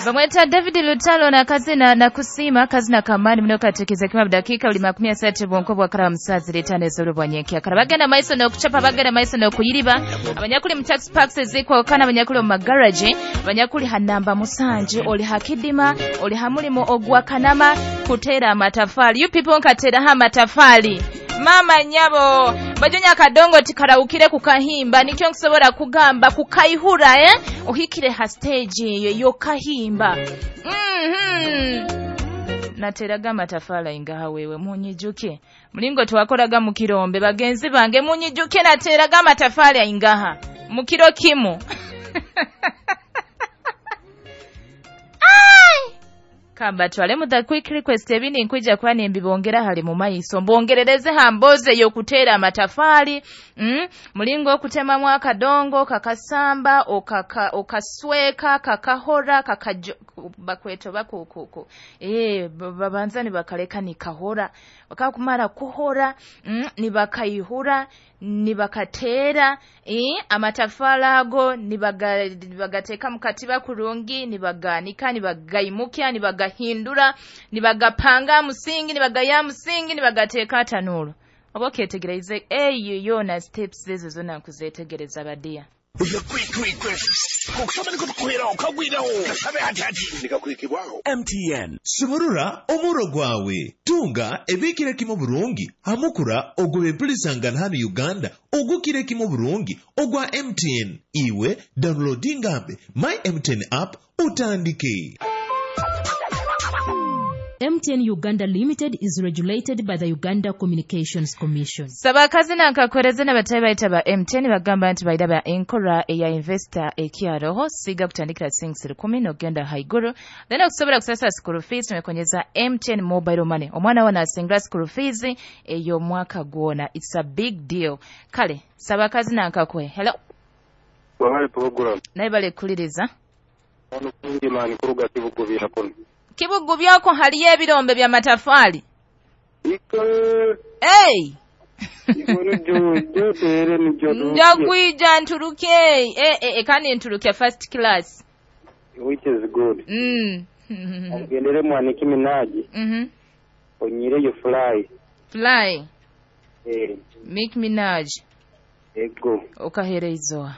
Bamweta David Lutalo na kazina na kusima kazina kamani muno katekiza kima dakika uli 30 bwonko bwa kara musazi letane zoro bwanyekia kara bagenda maiso no kuchapa bagenda maiso no kuyiriba abanyakuli mu tax parks zikwa kana abanyakuli mu garage abanyakuli hanamba musanje oli hakidima oli hamulimo ogwa kanama kutera amatafali. You people nkatera ha matafali mama nyabo bajonya akadongo tikarawukire kukahimba nikyo nkusobola kugamba kukaihura ohikire ha stage eyo yokahimba. Nateraga amatafala ingaha wewe munyijuke mulingo twakoraga mu kirombe bagenzi bange munyijuke nateraga amatafala ingaha mu kiro kimu. Kamba twale mu the quick request ebindi nkwija kuba nimbibongera hali mu maiso mbongerereze hamboze yokutera amatafali. Mulingo okutemamu akadongo kakasamba okasweka kakahora kakajo bakweto bakukuku babanza nibakaleka nikahora bakakumara kuhora nibakaihura nibakatera amatafala ago nibagateka mukatiba kurungi nibaganika nibagaimukya nibagahindura nibagapanga musingi nibagaya musingi nibagateka tanuru oboketegereze eyo yona steps ezo zona nkuzetegereza badia. MTN sumurura omuro gwawe tunga ebikire kimo burungi hamukura ogwebempulisangana hano Uganda ogukire kimo burungi ogwa MTN iwe downloadingambe my MTN app utandike. MTN Uganda Limited is regulated by the Uganda Communications Commission. Sabakazi na nkakoreze na batayi baita ba MTN bagamba nti baida ba enkora eya investor ekiaroho siga kutandikira sinks 10 nogenda haiguru then okusobola kusasa school fees tumekonyeza MTN mobile money omwana wana asingra school fees eyo mwaka gwona. It's a big deal. Kale sabakazi na nkakwe. Hello. Wabale program. Naye bale kuliriza. Ono kungi mani kuruga kibugu byako. Kibugu byako haliyo ebirombe bya matafali. Iko. Hey. Njakwija nturuke. Kani nturuke first class. Which is good. Ogendere mwaniki Minaji. Onyire yo fly. Fly. Mick Minaj. Ego. Okahereizoa.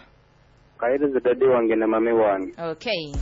Kahereza dade wange na mame wange. Okay.